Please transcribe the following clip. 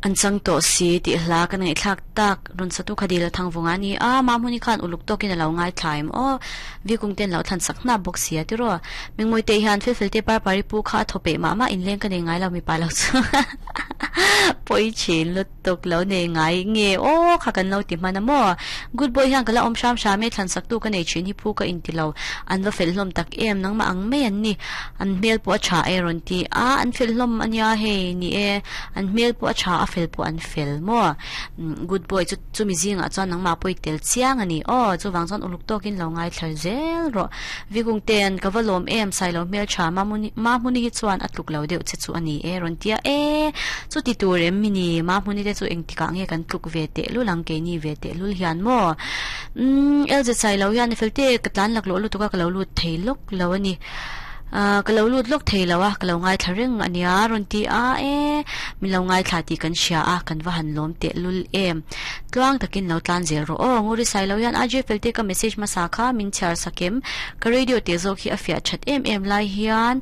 An chang tawh si tih hla ka ngaihthlak tak rawn satu kha dil a thang vawng a ni a, Mahmuni khan uluk tawkin a lo ngaithla em aw, Vikung ten lo thlan sak hnap bawk si a tiraw. Mingmawite hian Felfel te Parpari pu kha a thaw peih mah mah inleng ka nei ngai lo mipa lo chu pawi thin lutuk lo nei ngai nge aw kha kan lo ti hman a maw. Good boy hian ka la awm hram hram e thlan sak tu ka nei thin hi phu ka inti lo an va fel hlawm tak em nangmah ang mai an ni an hmel pawh a tha e rawn ti a an fel hlawm a nia hei ni e an hmel pawh a tha a fel pawh an fel maw good boy chu chumi zingah chuan nangmah pawh i tel chiang a ni aw chuvang chuan uluk tawkin lo ngaithla zel rawh Vikung ten ka va lawm em Sailo hmel tha Mahmuni hi chuan a tluk lo deuh che chu a ni e rawn tia e chuti tur em mi ni Mahmuni te chu engtikah nge kan tluk ve teh lul ang keini ve teh lul hian maw umm LZ Sailo hian fel te ka tlan laklawh lutuk a ka lo lut thei lawk lo a ni. Ahh ka lo lut lawk thei lo a, ka lo ngaithla reng a nia rawn ti a e, min lo ngaithla tih kan hria a, kan va han lawm teh lul em. Tluang takin lo tlan zel rawh aw, Nguri Sailo hian RJ Felte ka message hmasa kha min chhiar sak em, ka radio teh zawk hi a fiah that em em lai hian.